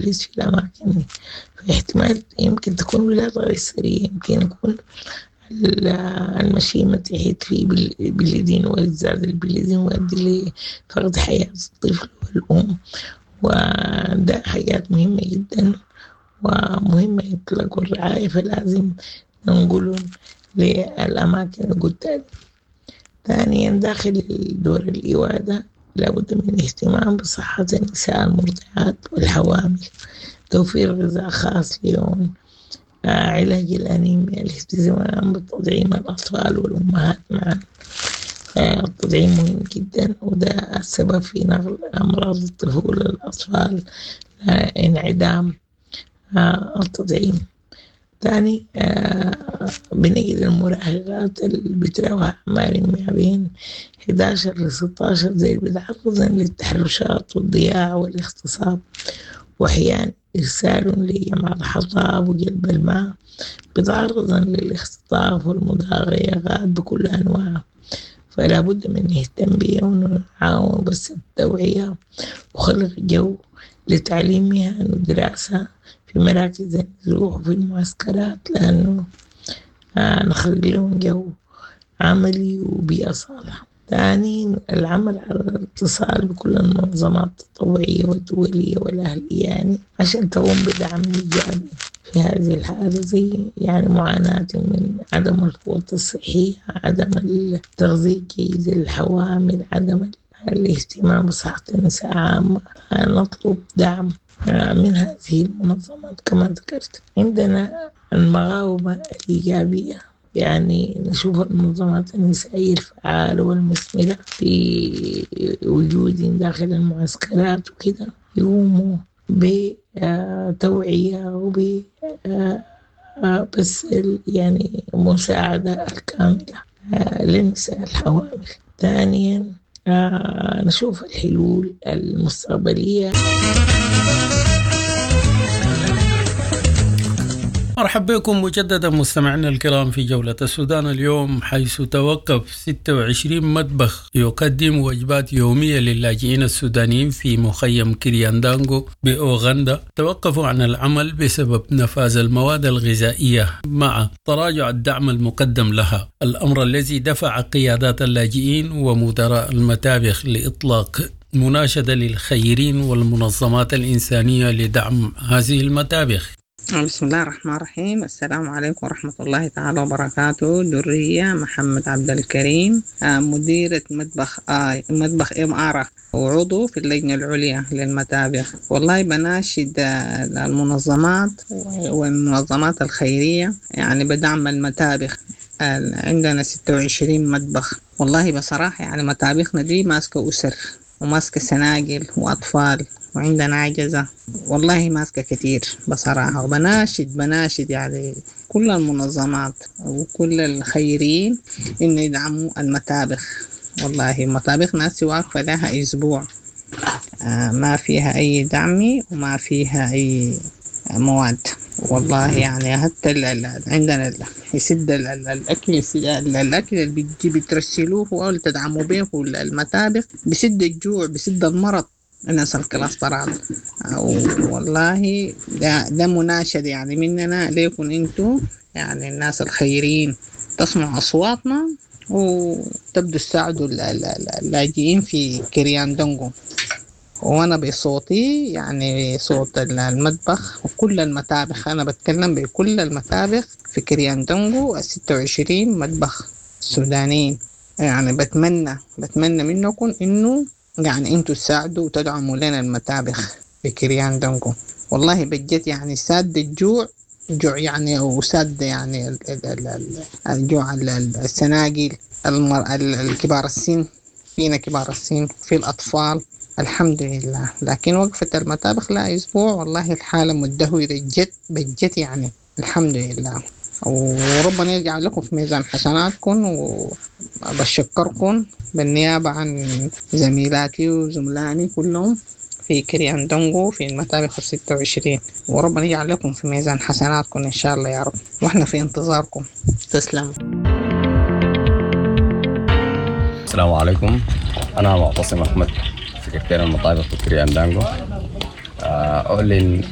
في الأماكن دي، فاحتمال يمكن تكون ولادة قيصرية، يمكن يكون المشيمة تحت في bleeding وزاد ال bleeding ويؤدي لفقد حياة الطفل والأم. وده حاجات مهمة جدا ومهمة يطلقوا الرعاية، فلازم ننقلهم للأماكن اللي قلتها. ثانيا داخل دور الإيواء لابد من الاهتمام بصحة النساء المرضعات والحوامل، توفير غذاء خاص لهم، علاج الأنيميا، الاهتمام بتطعيم الأطفال والأمهات معا. التطعيم مهم جدا، وده السبب في نقل أمراض الطفولة للأطفال، انعدام التطعيم. ثاني بنجد المراهقات اللي بتراوح أعمارهم ما بين 11 ل 16 زي اللي بيتعرضن للتحرشات والضياع والاغتصاب، وأحيانا إرسالهم لجمع الحطب وجلب الماء، بيتعرضن للاختطاف والمضايقات بكل أنواعها. فلا بد من نهتم بيهم ونعاون بس التوعية وخلق جو لتعليم مهن ودراسة في مراكز النزوح وفي المعسكرات، لأنه نخلق لهم جو عملي وبيئة صالحة. ثاني العمل على الاتصال بكل المنظمات التطوعية والدولية والأهلية عشان تقوم بدعم إيجابي في هذه الحالة، زي معاناة من عدم الفوط الصحية، عدم التغذية الجيدة للحوامل، عدم الاهتمام بصحة النساء عامة. نطلب دعم من هذه المنظمات كما ذكرت. عندنا المقاومة الإيجابية، نشوف المنظمات النسائية الفعالة والمثمرة في وجود داخل المعسكرات يقوموا بتوعية وب بس مساعدة الكاملة للنساء الحوامل. ثانيا نشوف الحلول المستقبلية. مرحبا بكم مجددا مستمعينا الكرام في جولة السودان اليوم، حيث توقف 26 مطبخ يقدم وجبات يومية للاجئين السودانيين في مخيم كرياندانغو بأوغندا توقفوا عن العمل بسبب نفاذ المواد الغذائية مع تراجع الدعم المقدم لها، الأمر الذي دفع قيادات اللاجئين ومدراء المطابخ لإطلاق مناشدة للخيرين والمنظمات الإنسانية لدعم هذه المطابخ. بسم الله الرحمن الرحيم. السلام عليكم ورحمة الله تعالى وبركاته. درية محمد عبد الكريم، مديرة مطبخ إم آر وعضو في اللجنة العليا للمطابخ. والله بناشد المنظمات والمنظمات الخيرية بدعم المطابخ. عندنا 26 مطبخ. والله بصراحة مطابخنا دي ماسكة أسر وماسكة سناجل وأطفال وعندنا عجزة، والله ماسكة كتير بصراحة. وبناشد كل المنظمات وكل الخيرين إنه يدعموا المطابخ. والله مطابخ ناس واقفة لها أسبوع، ما فيها أي دعم وما فيها أي مواد. والله حتى عندنا يسد الأكل، يسد الأكل اللي بترسلوه أو تدعموا به المطابخ، بيسد الجوع، بيسد المرض الناس الكلاسترات. والله ده مناشد مننا ليكم انتو الناس الخيرين تسمعوا أصواتنا وتبدوا تساعدوا اللاجئين في كرياندونغو. وأنا بصوتي صوت المطبخ وكل المطابخ، أنا بتكلم بكل المطابخ في كرياندونغو 26 مطبخ سودانيين. بتمنى منكم إنه انتوا تساعدوا وتدعموا لنا المطابخ في كرياندونغو. والله بجد ساد الجوع، جوع وساد الجوع السناجل، الكبار السن، فينا كبار السن، في الأطفال، الحمد لله. لكن وقفة المطابخ لا أسبوع، والله الحالة مدهورة جد بجد الحمد لله. وربنا يجعل لكم في ميزان حسناتكم، وبشكركم بالنيابة عن زميلاتي وزملائي كلهم في كرياندونغو في المطابخ 26، وربنا يجعل لكم في ميزان حسناتكم إن شاء الله يا رب، وإحنا في انتظاركم. تسلموا. السلام عليكم، أنا معتصم أحمد، سكرتير المطابخ في كرياندانغو. أعلن